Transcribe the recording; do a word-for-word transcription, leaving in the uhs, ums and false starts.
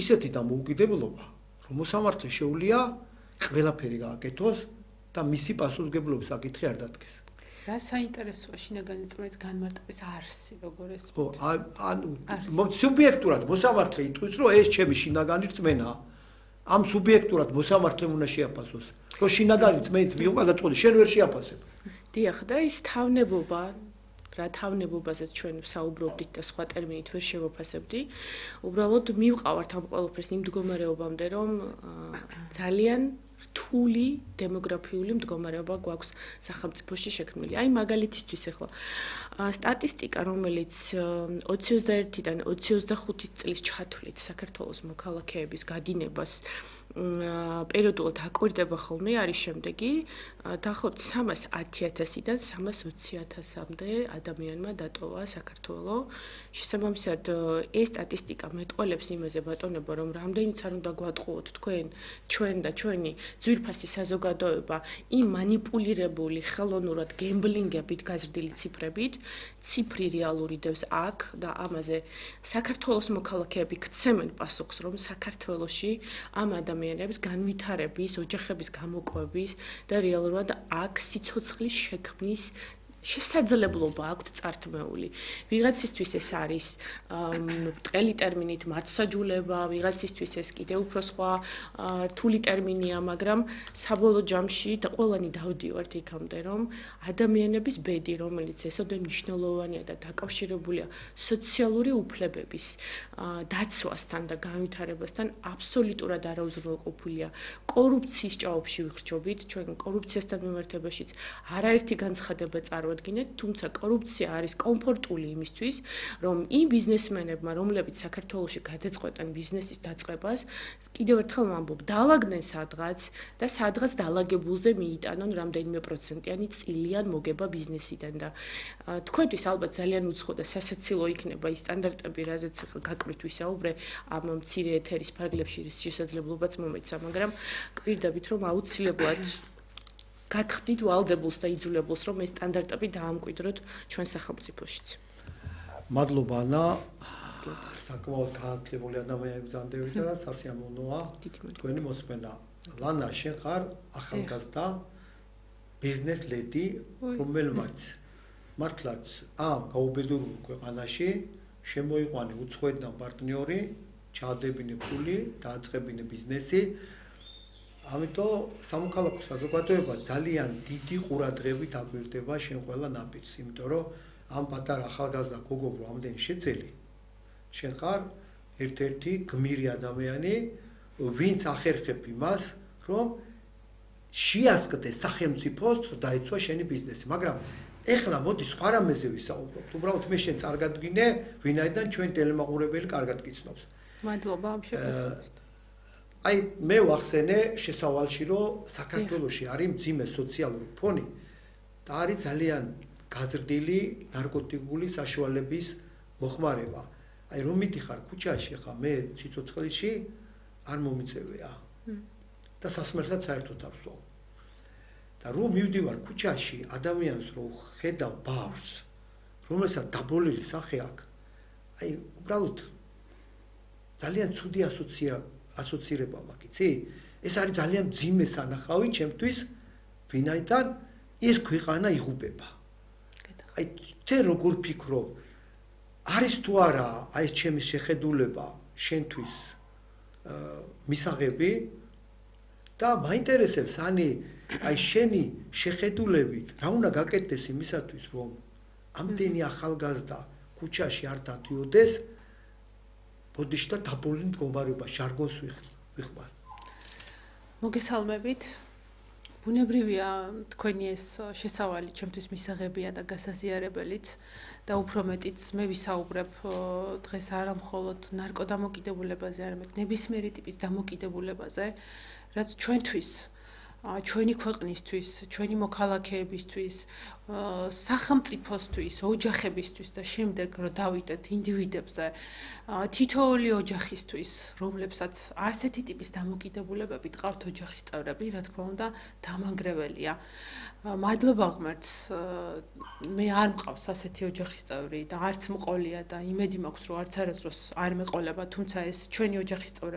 ისეთი დამოუკიდებლობა, რომ მოსამართლე შეუძლია ყველაფერი გააკეთოს და მისი პასუხისმგებლობის საკითხი არ დადგეს. რა საინტერესოა შინაგანი წყლის განმარტების არსი, როგორ ეს? ხო, ანუ სუბიექტურად მოსამართლე იტყვის, რომ ეს ჩემი შინაგანი რწმენაა. ამ სუბიექტურად მოსამართლემ უნდა შეაფასოს. რომ შინაგანი რწმენით მიიღო გადაწყვეტილება, შენ ვერ შეაფასებ. დიახ, და ის თავნებობა რა თავნებობაზეც ჩვენ ვსაუბრობდით და სხვა ტერმინით ვერ შევაფასებდი, უბრალოდ მივყავართ ამ ყველაფერს იმ მდგომარეობამდე, რომ ძალიან რთული დემოგრაფიული მდგომარეობა გვაქვს სახელმწიფოში შექმნილი. აი მაგალითისთვის ახლა სტატისტიკა, რომელიც ოცი ოცდაერთიდან ოცი ოცდახუთი წლის ჩათვლით საქართველოს მოქალაქეების გადინებას პერიოდულად აკვირდება ხოლმე არის შემდეგი, დაახლოებით სამას ათი ათასიდან სამას ოცი ათასამდე ადამიანმა დატოვა საქართველო. შესაბამისად, ეს სტატისტიკა მეტყველებს იმაზე ბატონებო, რომ რამდენიც არ უნდა გვატყუოთ თქვენ, ჩვენ და ჩვენი ძვირფასი საზოგადოება იმ манипуლირებული ხელოვნურად გემბლინგებით გაზრდილი ციფრებით, ციფრი რეალური დევს აქ და ამაზე საქართველოს მოქალაქეები გცემენ პასუხს, რომ საქართველოში ამ ადამიანებს განვითარების, ოჯახების გამოკვების და რეალურად აქ სიცოცხლის შექმნის შესაძლებლობა აქვთ წართმეული. ვიღაცისთვის ეს არის ბრტყელი ტერმინით მართსაჯულება, ვიღაცისთვის ეს კიდევ უფრო სხვა რთული ტერმინია, მაგრამ საბოლოო ჯამში და ყველანი დავდივართ იქამდე, რომ ადამიანების ბედი, რომელიც ესოდე მნიშვნელოვანია და დაკავშირებულია სოციალური უფლებების დაცვასთან და განვითარებასთან, აბსოლუტურად არაუზრუნველყოფილია. კორუფციის ჭაობში ვიხრჩობით, ჩვენ კორუფციასთან მიმართებაშიც არაერთი განცხადება წარვ თუმცა კორუფცია არის კომფორტული იმისთვის, რომ იმ ბიზნესმენებმა, რომლებიც საქართველოში გადაწყვეტენ ბიზნესის დაწყებას, კიდევ ერთხელ ვამბობ, დაალაგდნენ სადღაც და სადღაც დაალაგებულზე მიიტანონ რამდენიმე პროცენტიანი წილიან მოგება ბიზნესიდან და თქვენთვის ალბათ ძალიან უცხო და სასაცილო იქნება ის სტანდარტები, რაზეც გაკვირთ ვისაუბრე, ამ მცირე ეთერის ფარგლებში შესაძლებლობაც მომეცა, მაგრამ გვირდებით, რომ აუცილებლად გათხრით ვალდებულს და იძულებულს, რომ ეს სტანდარტები დაამკვიდროთ ჩვენ სახელმწიფოშიც. მადლობა ანა. საკმაოდ განათლებული ადამიანები ბრძანდებით და სასიამოვნოა თქვენი მოსმენა. ლანა, შენ ხარ ახალგაზრდა ბიზნეს ლედი, რომელმაც მართლაც ამ გაუბედურებულ ქვეყანაში შემოიყვანე უცხოეთიდან პარტნიორი, ჩაადებინე ფული, დააწყებინე ბიზნესი. ამიტომ სამოქალაქო საზოგადოება ძალიან დიდი ყურადღებით აკვირდება შენ ყველა ნაბიჯს, იმიტომ რომ ამ პატარა ახალგაზრდა გოგო ამდენი შეძელი, შენ ხარ ერთ-ერთი გმირი ადამიანი, ვინც ახერხებ იმას, რომ შეასკდეს სახელმწიფოს დაიცვა შენი ბიზნესი, მაგრამ ეხლა მოდი სხვა რამეზე ვისაუბროთ. უბრალოდ მე შენ წარგადგინე, ვინაიდან ჩვენ ტელემაყურებელი კარგად გიცნობს. მადლობა ამ შეფასებისთვის. აი მე ვახსენე შესავალში, რომ საქართველოში არის მძიმე სოციალური ფონი და არის ძალიან გაზრდილი ნარკოტიკული საშუალების მოხმარება. აი რომ მიდიხარ ქუჩაში, ხა მე სიცოცხლეში არ მომიწევია და სასმელსაც საერთოდ ავსვავ. და რომ მივდივარ ქუჩაში, ადამიანს რომ ხედავ ბავშვს, რომელსაც დაბოლილი სახე აქვს, აი უბრალოდ ძალიან ცუდი ასოციაცია ასოცირება მაქვს, იცი? ეს არის ძალიან მძიმე სანახავი ჩემთვის, ვინაიდან ეს ქვეყანა იღუპება. აი თე როგორ ფიქრობ, არის თუ არა აი ეს ჩემი შეხედულება შენთვის მისაღები და მაინტერესებს ანი აი შენი შეხედულებით რა უნდა გაკეთდეს იმისათვის, რომ ამდენი ახალგაზრდა ქუჩაში არ დადიოდეს ბოდიში და დაბოლილი მდგომარეობა ჟარგონს ვიხმარ. მოგესალმებით. ბუნებრივია თქვენი ეს შესავალი ჩემთვის მისაღებია და გასაზიარებელიც და უფრო მეტიც მე ვისაუბრებ დღეს არა მხოლოდ ნარკოდამოკიდებულებაზე, არამედ ნებისმიერი ტიპის დამოკიდებულებაზე, რაც ჩვენთვის ჩვენი ქვეყნისთვის, ჩვენი მოქალაქეებისთვის, სახელმწიფოსთვის, ოჯახებისთვის და შემდეგ რომ დავიდეთ ინდივიდებზე, თითოეული ოჯახისთვის, რომლებსაც ასეთი ტიპის დამოკიდებულებები ტყავთ ოჯახის წევრები, რა თქმა უნდა, დამანგრეველია. მადლობა ღმერთს, მე არ მყავს ასეთი ოჯახის წევრი და არც მყოლია და იმედი მაქვს, რომ არც არასდროს არ მეყოლება, თუმცა ეს ჩვენი ოჯახის წევრები